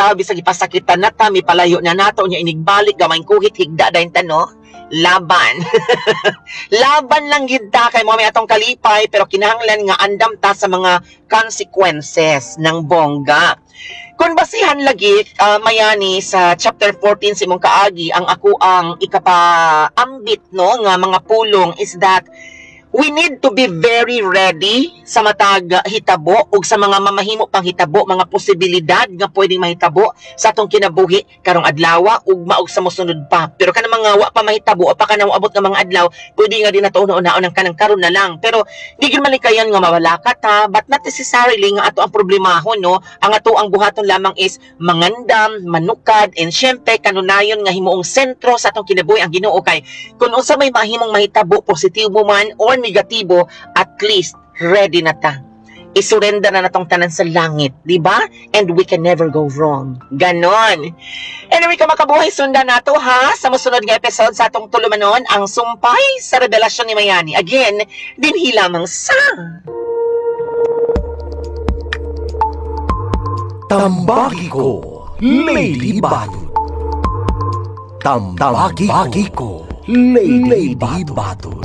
ta, bisag ipasakitan na ta, mipalayo na nato nya, inigbalik gamay kuhit, higda dayon ta, no? Laban. Laban lang gid ta kay mo may atong kalipay, pero kinahanglan nga andam ta sa mga consequences ng bongga. Kung basihan lagi, Mayani, sa chapter 14 sa imong kaagi, ang ako ang ikapaambit, no, nga mga pulong is that we need to be very ready sa matag hitabo ug sa mga mamahimo pang hitabo, mga posibilidad nga pwedeng mahitabo sa atong kinabuhi karong adlaw, ugma ug sa mosunod pa. Pero kanang mga wa pa mahitabo o pa kanang moabot nga mga adlaw, pwede nga di nato una-unaon ang kanang karon na lang. Pero di gyud malikayan nga mawalakat ha, but not necessarily nga ato ang problemahon, no? Ang ato ang buhaton lamang is mangandam, manukad, and syempre kanunayon nga himuong sentro sa atong kinabuhi ang Ginoo, kay kung unsa may mahimong mahitabo, positibo man or negatibo, at least ready na ta. Isurrender na natong tanan sa langit, di ba? And we can never go wrong. Ganon. Anyway, kamakabuhay, sundan nato ha sa mosunod nga episode sa atong tulumanon, Ang Sumpay sa Revelasyon ni Mayani. Again, dinhi lamang sa Tambagi ko, Lady Batud. Tambagi ko, Lady Batud.